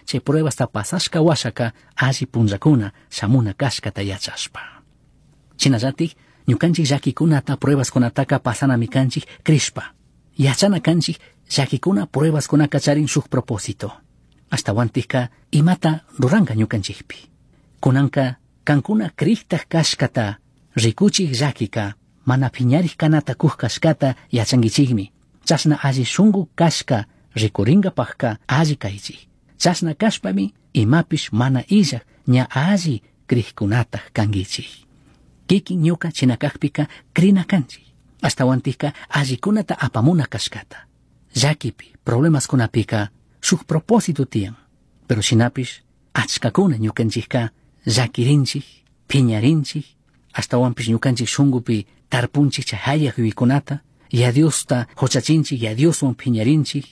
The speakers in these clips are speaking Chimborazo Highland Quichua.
Chay pruebasta pasashka washaka alli punllakuna shamuna kashkata yachashpa. Shinallatik ñukanchik llakikunata pruebaskunataka pasanami kanchik crishpa. Yachana kanchik llakikuna pruebaskunaka charin shuk propósito. Ashtawantikka imata ruranka ñukanchikpi. Kunanka kankuna kriktak kashkata rikuchik llakika mana piñarik kanata kuj kashkata yachankichikmi. Chashna alli shunku kashka rikuringapakka alli kaychik. Chashna kashpami imapish mana illak ña alli krikkunatak kankichik. Kikin ñuka chinakakpika krina kanchik. Ashtawantikka allikunata apamuna kashkata. Llakipi, problemaskunapika shuk propósito tiyan. Pero shinapish achkakuna ñukanchikka llakirinchik, piñarinchik, ashtawanpish ñukanchik shunkupi tarpunchik chay hayaq yuyaykunata, ya Diosta huchachinchik, ya Dioswan piñarinchik,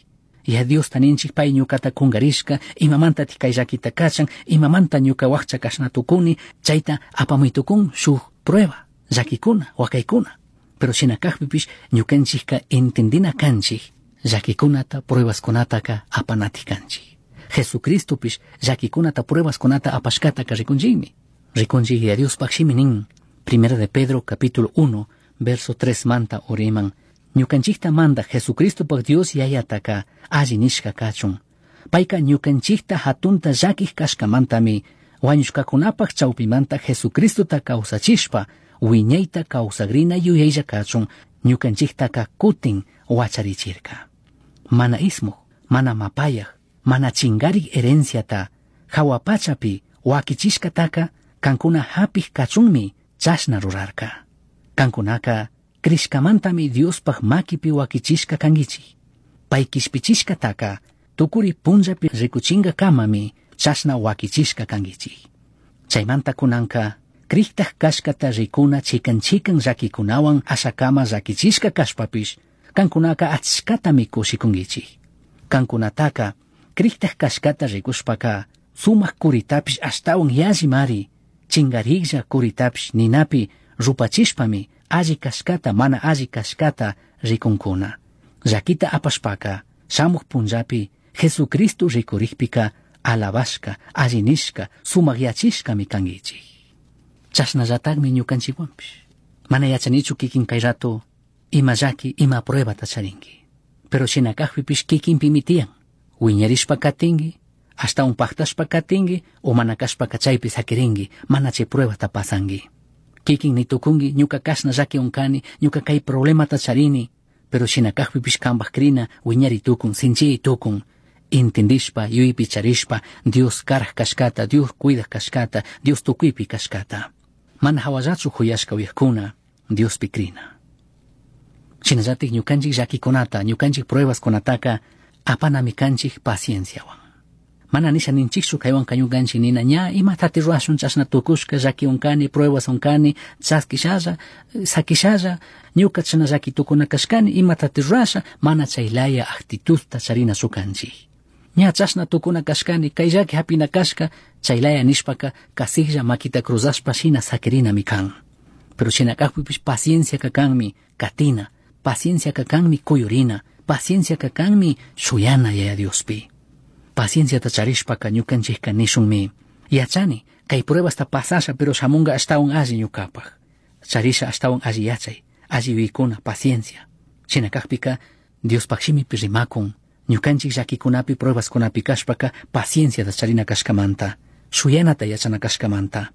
ya Diosta ninchik pay ñukata kungarishka, imamanta kay llakita kachan, imamanta ñuka wakcha kashna tukuni, chayta apamuy tukun shuk prueba, llakikuna, wakaykuna. Pero shina kakpipish ñukanchikka entendina kanchik, llakikunata, pruebaskunataka apanatik kanchik. Jesucristopish llakikunata, pruebaskunata apashkataka rikunchikmi. Rikunchik ya Diospaq shimi nin, Primera de Pedro capítulo 1, verso 3 manta uriman, ñukanchikta manda Jesucristopaq Dios yayataka alli nishka kachun. Payka ñukanchikta hatunta llakik kashkamantami wañushkakunapaq chawpimanta Jesucristota kawsachishpa wiñayta kawsagrina yuyaylla kachun ñukanchiktaka kutin wacharichirka. Mana ismuj, mana mapayaq, mana chingarik herenciata hawa pachapi wakichishkataka kankuna hapik kachunmi chashna rurarka. Kankunaka krishkamantami Diospaq makipi wakichishka kankichik. Pay kishpichishkataka tukuri punllapi rikuchinkakamami chashna wakichishka kankichik. Chaymanta kunanka kriktak kashkata rikuna chikan chikan llakikunawan ashakama llakichishka kashpapish kankunaka achkatami kushikunkichik. Kankunataka kriktak kashkata rikushpaka sumak kuritapish ashtawan yallimari chingariklla kuritapish ninapi rupachishpami alli kashkata mana alli kashkata rikunkuna. Llakita apashpaka shamuq punllapi Jesucristo rikurikpika alabashka, alli nishka, sumakyachishkami kankichik. Chashnallatakmi ñukanchikwanpish. Mana yachanichu kikin kay rato ima llaki, ima pruebata charinki. Pero shina kakpipish kikinpimi tiyan. Wiñarishpa katinki, ashtawan paktashpa katinki, o mana kashpaka chaypi sakirinki, mana chay pruebata pasanki. Kikin nitukunki, ñuka kashna llakiwan kani, ñuka kay problemata charini, pero shina kakpipish kanpak krina wiñari tukun, sinchiy tukun. Entendishpa, yuyaypi charishpa, Dios karaj kashkata, Dios cuidak kashkata, Dios tukuypi kashkata. Mana hawallachu huyashka uyajkuna, Diospi krina. Shinallatik ñukanchik llakikunata, ñukanchik pruebaskunataka apanami kanchik pacienciawan. Mana nisha ninchikchu kaywanka ñukanchik nina ña imatati rurashun chashna tukushka llakiwan kani, pruebaswan kani, chaskishalla, sakishalla, ñuka chashna llaki tukuna kashkani, imatati rurasha, mana chaylaya actitudta charinachu kanchik. Ña chashna tukuna kashkani, kay llaki hapina kashka, chaylaya nishpaka kasiklla makita cruzashpa shina sakirinami kan. Pero shina kakpipish pacienciaka kanmi katina, pacienciaka kanmi kuyurina, pacienciaka kanmi shuyana Yaya Diospi. Pacienciata charishpaka ñukanchikka nishunmi, yachani, kay pruebasta pasasha pero shamunga ashtawan alli ñukapak. Charisha ashtawan alli yachay, alli yuyaykuna, paciencia. Shina kakpika Diospaq shimipi rimakun, ñukanchik llakikunapi pruebaskunapi kashpaka pacienciata charina kashkamanta, shuyanata yachana kashkamanta.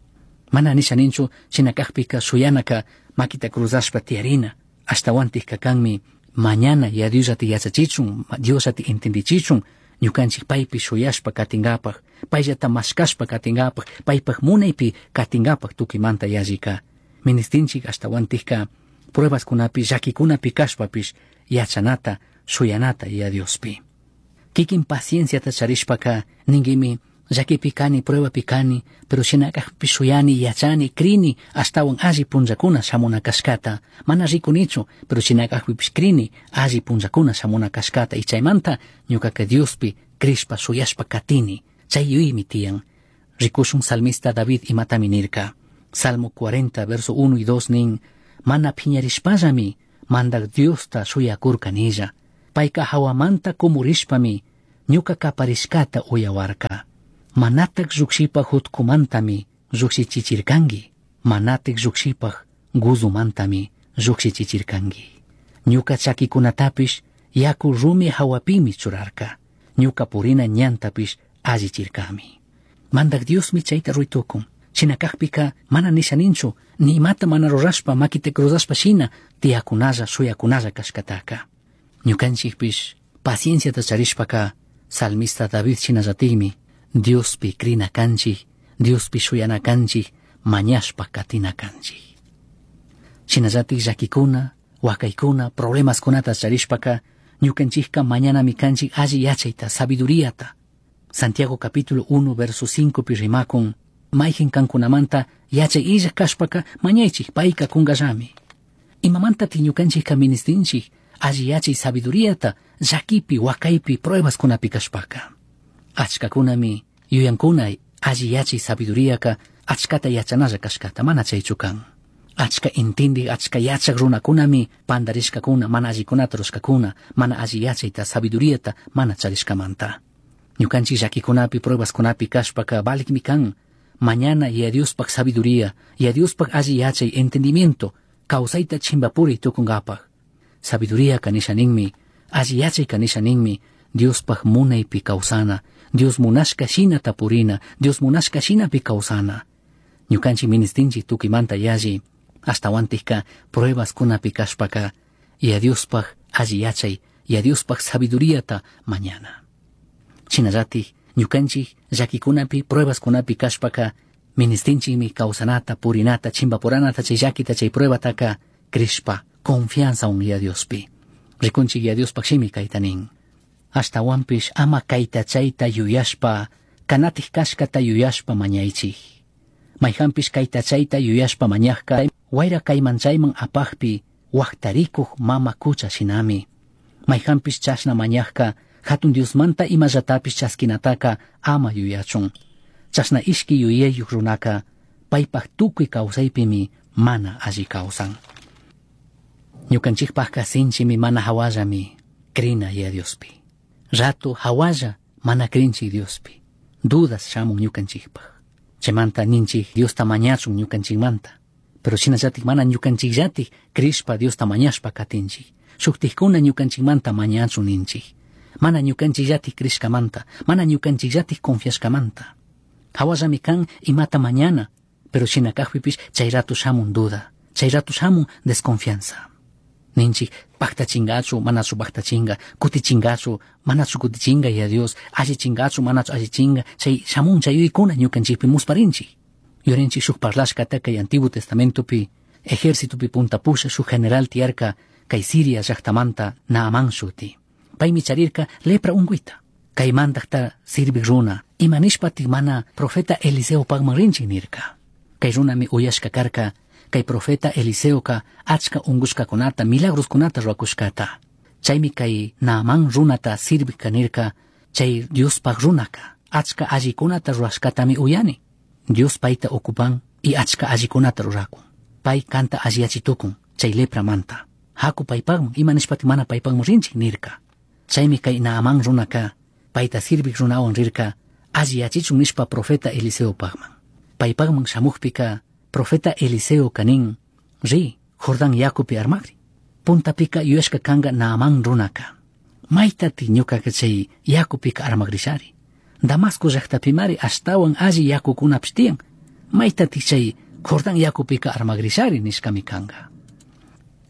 Mana nisha ninchu shina kakpika shuyanaka makita cruzashpa tiyarina, ashtawantikka kanmi mañana ya Diosllata yachachichun, Diosllata entendichichun, ñukanchik paypi shuyashpa katinkapak, payllata mashkashpa katinkapak, paypak munaypi katinkapak tukuymanta yallika. Ministinchik ashtawantikka pruebaskunapi llakikunapi kashpapish yachanata, shuyanata ya Diospi. Kikin pacienciata charishpaka ninkimi llakipi kani, pruebapi kani, pero shina kakpi shuyani, yachani, krini, ashtawan alli punllakuna shamuna kashkata. Mana rikunichu, pero shina kakpipish krini, alli punllakuna shamuna kashkata. Y chaymanta ñukaka Diospi krishpa shuyashpa katini. Chay yuyaymi tiyan. Rikushun salmista David imatami nirka. Salmo 40, verso 1 y 2 nin, mana piñarishpallami mandak Diosta shuyakurkanilla. Payka hawamanta kumurishpami Ñuca caparishcata uyahuarca. Manataj llujshipaj jutcumantami llujshichichircangui. Manataj llujshipaj guzumantami llujshichichircangui. Ñuca chaquicunatapish yacu rumi jahuapimi churarca. Ñuca purina ñantapish allichircami. Mandaj Diosmi chayta ruitucun. Shina cajpica mana nisha ninchu, ni imata mana rurashpa maquita cruzashpa shina tiyacunalla shuyacunalla cashcataca. Ñucanchikpish pacienciata charishpaka salmista David shinallatikmi Diospi crina canchik, Diospi shuyana canchik, mañashpa katina canchik. Shinallatik llaquicuna, huacaicuna, problemaskunata charishpaka ñukanchikka mañanami kanchik alli yachayta, sabiduriata. Santiago capítulo 1 verso 5 pi rimakun, mayjin kankunamanta yachay illaj kashpaka mañaychik payka kunkallami. Imamantatik ñukanchikka ministinchik alli yachay sabiduriata llakipi, wakaypi, pruebaskunapi kashpaka. Achkakunami yuyankuna alli yachay sabiduriaka achkata yachanalla kashkata mana chaychu kan. Achka intindik, achka yachak runakunami pandarishkakuna, mana allikunata rurashkakuna, mana alli yachayta, sabiduriata mana charishkamanta. Ñukanchik llakikunapi, pruebaskunapi kashpaka valikmi kan. Mañana Yaya Diospaj sabiduría, Yaya Diospaj alli yachay, entendimiento, kawsayta chimpapuri tukunkapaj. Sabiduría kanisha ninmi, alli yachay kanisha ninmi, Diospaj munaypi kawsana, Dios munashka shina tapurina, Dios munashka shinapi kawsana. Ñukanchik ministinchik tukuymanta yalli, ashtawantikka pruebaskunapi kashpaka, Yaya Diospaj alli yachay, Yaya Diospaj sabiduriata mañana. Shinallatik ñukanchik llakikunapi, pruebaskunapi kashpaka, ministinchikmi kawsanata, purinata, chimbapuranata, chay llakita, chay pruebataka crishpa, confianzawan Yaya Diospi. Rikunchik Yaya Diospaj shimi kayta nin. Ashtawanpish ama kayta chayta yuyashpa, kanatik kashkata yuyashpa mañaychik. Mayjanpish kayta chayta yuyashpa mañajka, wayra kayman chayman apajpi, wajtarikuj mama kucha shinami. Mayjanpish chashna mañajka, hatun Diosmanta imallatapish chaskinataka ama yuyachun. Chashna ishki yuyayuj runaka, paypaj tukuy kawsaypimi mana alli kawsan. Ñukanchikpajka sinchimi mana hawallami crina Yaya Diospi. Rato hawalla mana crinchik Diospi. Dudas shamun ñukanchikpaj. Chaymanta ninchik Diosta mañachun ñukanchikmanta. Pero shinallatik mana ñukanchikllatik crishpa Diosta mañashpa katinchik. Shuktikkuna ñukanchikmanta mañachun ninchik. Mana ñukanchikllatik crishkamanta, mana ñukanchikllatik confiashkamanta. Hawallami kan imata mañana, pero shina kajpipish chay rato shamun duda, chay rato shamun desconfianza. Ninchik paktachingachu, manachu paktachinga, kutichingachu, manachu kutichinga Yaya Dios, allichingachu, manachu allichinga, chay shamun chay yuyaykuna ñukanchikpi musparinchik. Yurinchik shuk parlashkata kay Antiguo Testamentopi, ejércitopi punta pusha shuk general tiyarka kay Siria llaktamanta Naamán shuti. Paymi charirka lepra unguita. Kay mandajta sirvik runa, ima nishpatik mana profeta Eliseo pagman rinchik nirka. Kay runami uyashka karka, kay profeta Eliseoka achka ungushkakunata, milagroskunata ruwakushkata. Chaymi kay Naamán runata sirvik nirka, chay Diospaj runaka, achka allikunata ruwashkatami uyani. Dios payta ocupan y achka allikunata rurakun. Pay kanta alliyachitukun, chay lepramanta. Haku paypagman, ima nishpatik mana paypagman rinchik nirka. Chaymi kay Naamán runaka, payta sirvik runawan rirka, alliyachichun nishpa profeta Eliseopagman. Paypagman shamukpika, profeta Eliseo kanin, ri, Jordán yakupi armakri. Puntapika yuyashka kanga Naamán runaka. Maytati ñukaka chay yakupika armakrishari. Damasco llaqtapimari ashtawan alli yakukunapish tiyan. Maytati chay Jordán yakupika armakrishari nishkami kanga.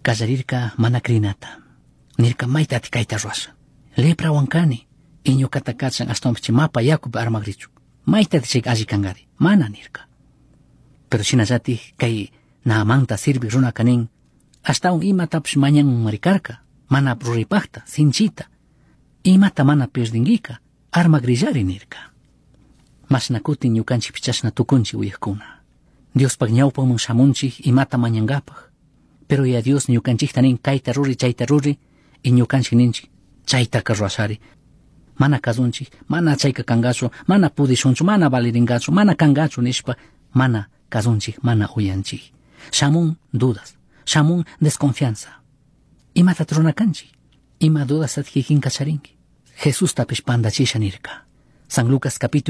Kallarirka mana crinata. Nirka maytati kayta ruwasha. Leprawan kani, y ñukata kachan ashtawanpish chay mapa yakupi armakrichun. Maytati chay alli kankari, mana nirka. Pero shinallatik kay Naamanta sirvik runaka nin, ashtawan imatapish mañanmari karka, mana ruraypakta, sinchita. Imata mana perdinguika, armakrillari nirka. Mashna kutin ñukanchikpish chashna tukunchik uyajkuna. Diospaj ñawpaman shamunchik imata mañankapaj. Pero Yaya Dios ñukanchikta nin kayta ruri, chayta ruri, y ñukanchik ninchik chaytaka ruwashari. Mana kasunchik, mana chayka kankachu, mana pudishunchu, mana valirinkachu, mana kankachu nishpa, mana kasunchik, mana uyanchik. Shamun dudas, shamun desconfianza. Imata runa kanchik? Ima dudas kikinka charinki? Jesustapish pandachisha nirca. San Lucas capítulo.